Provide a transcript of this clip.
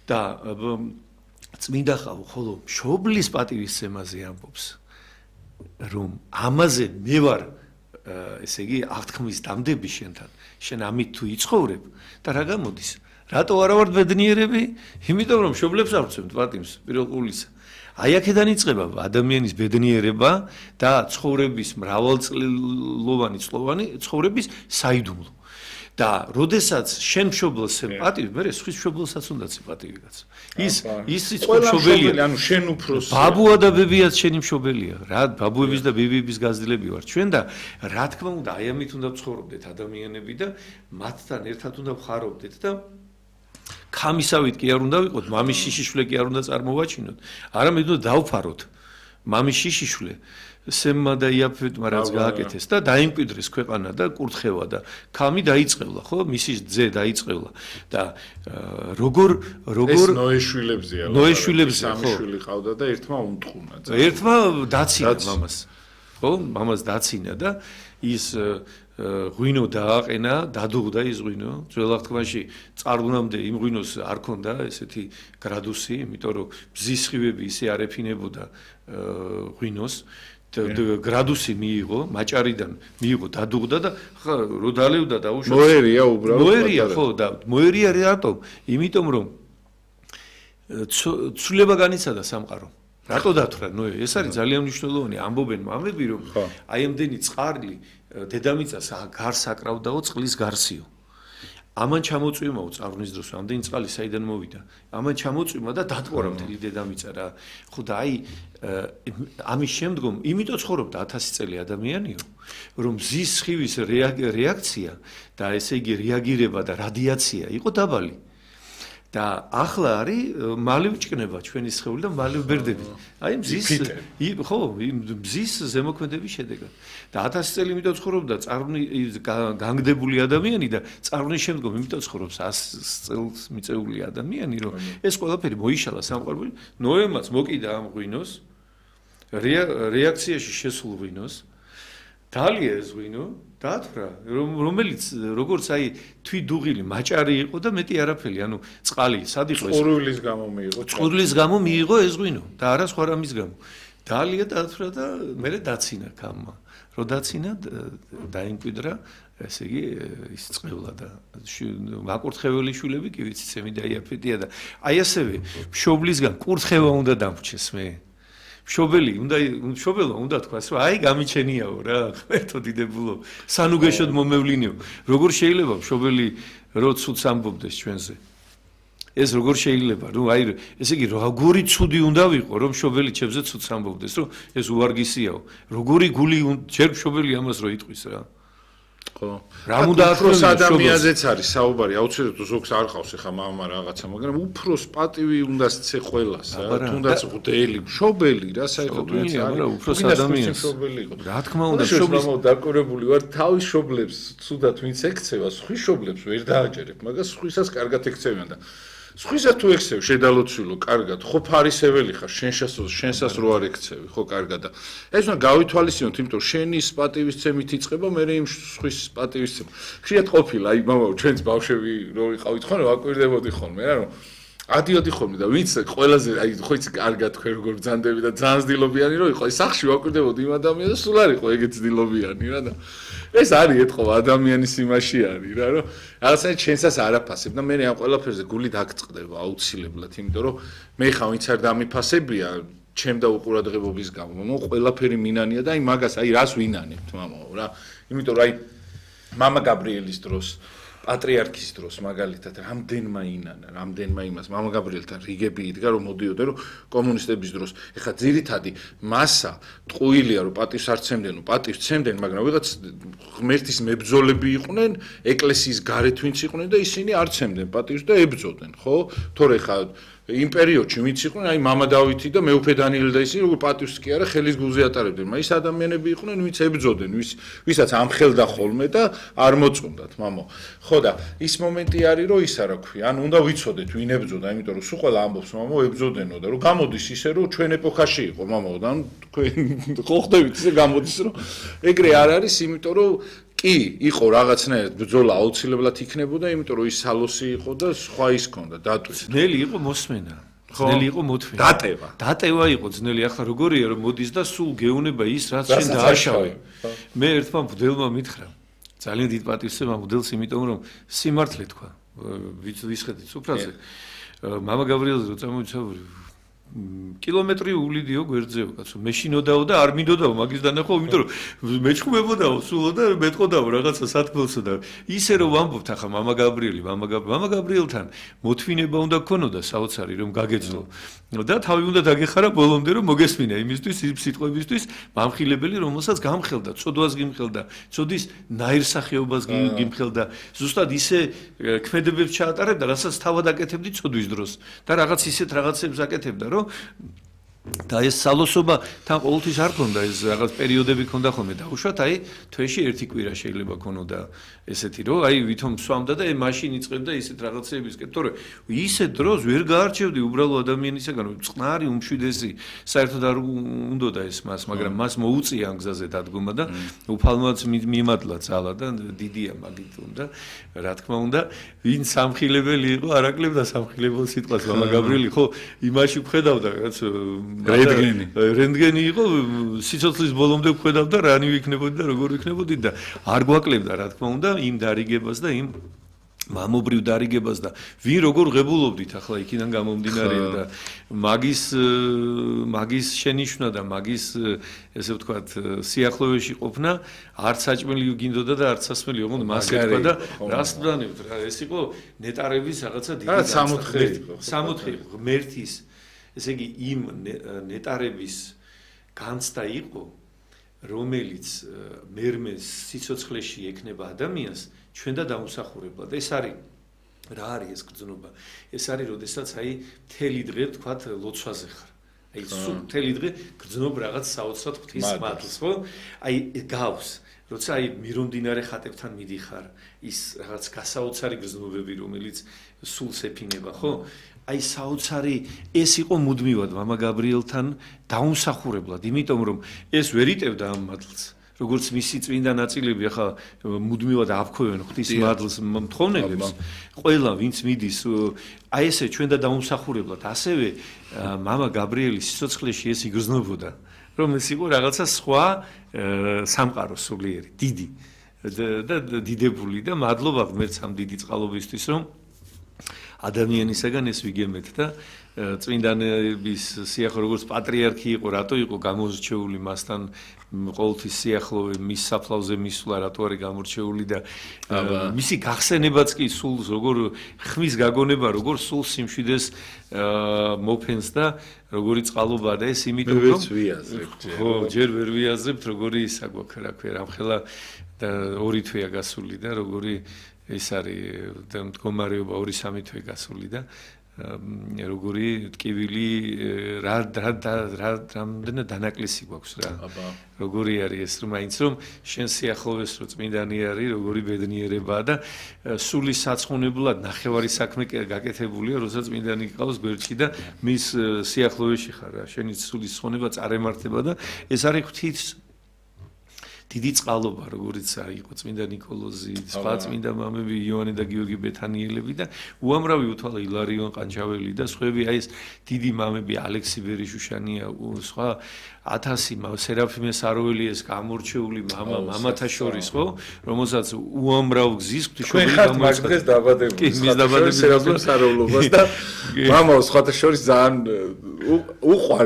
და წმინდა ხალხო ხოლო მშობლის პატივისცემაზე ამბობს რომ ამაზე მე ვარ ესე იგი აღთქმის დამდები შენთან შენ ამით თუ იცხოვრებ და რა გამოდის რატო არა ვართ ბედნიერები იმიტომ რომ მშობლებს არ ვცემთ პატივს პირველ ყოვლისა აი აქედან იწყება ადამიანის ბედნიერება და ცხოვრების მრავალწლოვანი ცხოვრების საიდუმლო და როდესაც შენ მშობელს პატივი მე სხვის მშობელსაც უნდა ცი პატივი კაც ის მშობელია ანუ შენ უფროსი ბაბუა და ბებიაც შენი მშობელია რა ბაბუების და ბებიების გაზრდილები ვარ ჩვენ და რა თქმა უნდა აი ამით უნდა ვცხოვრობდეთ ადამიანები და მათთან ერთად უნდა ვხარობდეთ და ქამისავით კი არ უნდა ვიყოთ მამის შიშიშვლე კი არ უნდა წარმოვაჩინოთ არამედ უნდა დავფაროთ მამის შიშიშვლე სემმა და იაფეთმა რაც გააკეთეს და დაიმკვიდრეს ქვეყანა და კურთხევა და ქამი დაიწყევლა ხო მისი ძე დაიწყევლა და როგორ ეს ნოეშვილებზეა ნოეშვილებზეა ხო სამი ყავდა და ერთმა უმტყუნა ერთმა დაცინა მამას ხო მამას დაცინა და ის ღვინო დააყენა დადუღდა ის ღვინო ძველ აღთქმაში წარღვნამდე იმ ღვინოს არ ქონდა ესეთი გრადუსი იმიტომ რომ ბზის სხივები ისე არ ეფინებოდა ღვინოს გრადუსი მიიღო მაჭარიდან მიიღო დადუღდა და რო დალევდა და უშო მოერია უბრალოდ მოერია ხო და მოერია რატომ იმიტომ რომ ცვლილება განიცადა სამყარო რატო დათვრა ნოე ეს არის ძალიან მნიშვნელოვანი ამბობენ მამები რომ აი ამდენი წყარლი დედამიწას გარს აკრავდაო წყლის გარსიო ამან ჩამოწვიმაო წარღვნის დროს ამდენი წყალი საიდან მოვიდა ამან ჩამოწვიმა და დატყორა მთელი დედამიწა რა ხო და აი ამის შემდგომ იმიტომ ცხოვრობდა 1000 წელი ადამიანიო რომ მზის სხივის რეაქცია და ესე იგი რეაგირება და რადიაცია იყო დაბალი და ახლა არის მალე ვჭკნება ჩვენი სხეული და მალე ვბერდები. აი მზის ხო, მზის ზემოქმედების შედეგად. და 1000 წელი იმიტომ ცხოვრობდა განგდებული ადამიანი და წარღვნის შემდგომ იმიტომ ცხოვრობს 100 წელს მიწეული ადამიანი, რომ ეს ყველაფერი მოიშალა სამყაროში. ნოემაც მოკიდა ამ ღვინოს რეაქციაში შესულ ღვინოს დალია ეს ღვინო დათვრა რომელიც როგორც აი თვიდუღილი მაჭარი იყო და მეტი არაფერი ანუ წყალი სად იყო ეს წყურვილის გამო მიიღო წყურვილის გამო მიიღო ეს ღვინო და არა სხვა რამის გამო დალია დათვრა და მე დაცინა კამმა რო დაცინა დაიმკვიდრა ესე იგი ის წყევლა და მაკურთხეველი შვილები კი ვიცი ცემი და იაფეტია და აი ასევე მშობლისგან კურთხევა უნდა დამრჩეს მე მშობელო უნდა თქვას რომ აი გამიჩენიაო რა ღმერთო დიდებულო სანუგეშოდ მომევლინიო როგორ შეიძლება მშობელი რო ცუდს ამბობდეს ჩვენზე ეს როგორ შეიძლება ნუ აი ესე იგი როგორი ცუდი უნდა ვიყო რომ მშობელი ჩემზე ცუდს ამბობდეს რომ ეს უარგისიაო როგორი გული ჯერ მშობელი ამას რო იტყვის რა ხო რა უნდა უფროს ადამიანზეც არის საუბარი აუცილებლად ზოგს არ ყავს ახლა მამა რაღაცა მაგრამ უფროს პატივი უნდა ცე ყველას რა თუნდაც ღდელი მშობელი რა საერთოდ ვინც არა უფროს ადამიანს რა თქმა უნდა მშობლის დაკურებული ვარ თავის მშობლებს ცუდად ვინც ექცევა სხვის მშობლებს ვერ დააჯერებ მაგას სხვისას კარგად ექცევიან და სხვისა თუ ექცევ შედალოცვილო კარგად ხო ფარისეველი ხარ შენსას რო არ ექცევი ხო კარგად და ეს უნდა გავითვალისწინოთ იმიტომ შენის პატივისცემით იწყება მე იმ სხვის პატივისცემა ხშირად ყოფილა აი მამაო ჩვენც ბავშვები რო ვიყავით ხოლმე ვაკვირდებოდი ხოლმე რა რომ ადიოდი ხოლმე და ვინც ყველაზე აი ხო იცი კარგად თქვენ როგორ ბრძანდები და ძალიან ძდილობიანი რო იყო აი სახში ვაკვირდებოდი იმ ადამიანს და სულ არ იყო ეგეთ ძდილობიანი რა და ეს არის ეთქო ადამიანის იმაში არის რა რომ რაღაცა ჩვენსას არაფასებ და მე ამ ყველაფერზე გული დაგწყდება აუცილებლად იმიტომ რომ მე ხა ვინც არ დამიფასებია ჩემ და უყურადღებობის გამო მო ყველაფერი მინანია და აი მაგას აი რას ვინანებთ მამაო რა იმიტომ რომ აი მამა გაბრიელის დროს პატრიარქის დროს მაგალითად რამდენმა ინანა რამდენმა იმას მამა გაბრიელთან რიგები იდგა რომ მოდიოდა რომ კომუნისტების დროს ეხა ძირითადი მასა ტყუილია რომ პატივს არ ცემდნენ პატივს ცემდნენ მაგრამ ვიღაც ღმერთის მებრძოლები იყვნენ ეკლესიის გარეთ ვინც იყვნენ და ისინი არ ცემდნენ პატივს და ებრძოდნენ ხო თორე ხა იმ პერიოდში ვინც იყვნენ აი მამა დავითი და მეუფე დანიელი და ისინი როგორ პატივს კი არა ხელის გულზე ატარებდნენ მაგრამ ის ადამიანები იყვნენ ვინც ებრძოდნენ ვისაც ამხელდა ხოლმე და არ მოწონდათ მამო ხო ხო და ის მომენტი არის რომ ის არა ქვია ან უნდა ვიცოდეთ ვინ ებძოდა იმიტომ რომ სულ ყველა ამბობს მამაო ებძოდენო და რომ გამოდის ისე რომ ჩვენ ეპოქაში იყო მამაო და თქვენ ხო ხდებით ისე გამოდის რომ ეგრე არ არის იმიტომ რომ კი იყო რაღაცნაირად ბრძოლა აუცილებლად იქნებოდა იმიტომ რომ ის სალოსი იყო და სხვა ის ქონდა დატვი ძნელი იყო მოსმენა ძნელი იყო მოთმენა დატევა იყო ძნელი ახლა როგორია რომ მოდის და სულ გეუნება ის რაც შენ დააშავე მე ერთმა მღვდელმა მითხრა ძალიან დიდ პატივს ვსვამ მღვდელს იმიტომ რომ სიმართლე თქვა ვისხედით სუფრაზე მამა გაბრიელზე რო წამოვიცავ კილომეტრი ულიდიო გვერდზეო კაცო მე შინოდაო და არ მინდოდაო მაგის დანახვა იმიტომ რომ მეჩხუბებოდაო სულო და მეტყოდაო რაღაცა სათქმელსო და ისე რომ ვამბობთ ახლა მამა გაბრიელთან მოთმინება უნდა გქონოდა საოცარი რომ გაგეძლო და თავი უნდა დაგეხარა ბოლომდე რომ მოგესმინა იმისთვის იმ სიტყვებისთვის მამხილებელი რომელსაც გამხელდა წოდვას გიმხელდა წოდის ნაირსახეობას გიმხელდა ზუსტად ისე ქმედებებს ჩაატარებდა რასაც თავად აკეთებდი წოდვის დროს და რაღაც ისეთ რაღაცებს აკეთებდა რომ და ეს სალოსობა თან ყოველთვის არ ქონდა ეს რაღაც პერიოდები ქონდა ხოლმე დაუშვათ აი თვეში ერთი კვირა შეიძლება ქონოდა ესეთი რომ აი ვითომ სვამდა და მაშინ იწყებდა ისეთ რაღაცებისკენ თორე ისეთ დროს ვერ გაარჩევდი უბრალო ადამიანისაგან წყნარი უმშვიდესი საერთოდ არ უნდოდა ეს მას მაგრამ მას მოუწია ამ გზაზე დადგომა და უფალმაც მიმადლა ძალა და დიდია მაგით უნდა რა თქმა უნდა ვინ სამხილებელი იყო არაკლებდა სამხილებელ სიტყვას მამა გაბრიელი ხო იმაში ვხედავდა რაც რენტგენი იყო სიცოცხლის ბოლომდე ვხედავდა რანი ვიქნებოდი და როგორ ვიქნებოდი და არ გვაკლებდა რა თქმა უნდა იმ დარიგებას და იმ მამობრივ დარიგებას და ვინ როგორ ღებულობდით ახლა იქიდან გამომდინარე და მაგის შენიშვნა და მაგის ესე ვთქვათ სიახლოვეში ყოფნა არც საჭმელი გინდოდა და არც სასმელი ოღონდ მას ეთქვა და რას ვდანებთ რა ეს იყო ნეტარების რაღაცა დიდი 64 ღმერთის ესე იგი იმ ნეტარების განცდა იყო რომელიც მერმეს სიცოცხლეში ექნება ადამიანს ჩვენ და დაუსახურებლად ეს არის რა არის ეს გრძნობა ეს არის როდესაც აი მთელი დღე თქვათ ლოცვაზე ხარ აი სულ მთელი დღე გრძნობ რაღაც საოცრად ღვთის მადლს ხო აი გავს როცა აი მირონდინარე ხატებთან მიდიხარ ის რაღაც გასაოცარი გრძნობები რომელიც სულს ეფინება ხო აი საოცარი ეს იყო მუდმივად მამა გაბრიელთან დაუმსახურებლად იმიტომ რომ ეს ვერ იტევდა ამ მადლს როგორც მისი წმინდა ნაწილები ახლა მუდმივად აფქვევენ ღვთის მადლს მთხოვნელებს ყველა ვინც მიდის აი ესე ჩვენ და დაუმსახურებლად ასევე მამა გაბრიელის სიცოცხლეში ეს იგრძნობოდა რომ ეს იყო რაღაცა სხვა სამყარო სულიერი დიდი და დიდებული და მადლობა ღმერთს ამ დიდი წყალობისთვის რომ ადამიანისაგან ეს ვიგემეთ და წმინდანების სიახლოვე როგორც პატრიარქი იყო რატო იყო გამორჩეული მასთან ყოველთვის სიახლოვე მის საფლავზე მისვლა რატო არის გამორჩეული და მისი გახსენებაც კი სულს როგორ ხმის გაგონება როგორ სულს სიმშვიდეს მოფენს და როგორი წყალობა და ეს იმიტომ რომ ხო ჯერ ვერ ვიაზრებთ როგორი ისა გვაქვს რა ქვია რამხელა და 2 თვეა გასული და როგორი ეს არის და მდგომარეობა 2-3 თვე გასული და როგორი ტკივილი რამდენი დანაკლისი გვაქვს რა როგორი არის ეს რომ მაინც რომ შენ სიახლოვეს რო წმინდანი არის როგორი ბედნიერებაა და სულის საცხონებლად ნახევარი საქმე გაკეთებულია როცა წმინდანი გყავს გვერდში და მის სიახლოვეში ხარ რა შენი სულის ცხონება წარემართება და ეს არის ღვთის დიდი წყალობა როგორიც იყო წმინდა ნიკოლოზი, სხვა წმინდა მამები იოანე და გიორგი ბეთანიელები და უამრავი უთვალა ილარიონ ყანჩაველი და სხვები აი ეს დიდი მამები ალექსი ბერიშუშანია სხვა 1000 სერაფიმე საროველიეს გამორჩეული მამათა შორის ხო რომელსაც უამრავ გზის ღვთისმშობელი გამოიწყდა დღეს დაბადების სერაფიმე საროველობას და მამაო სხვათა შორის ძალიან უყვარ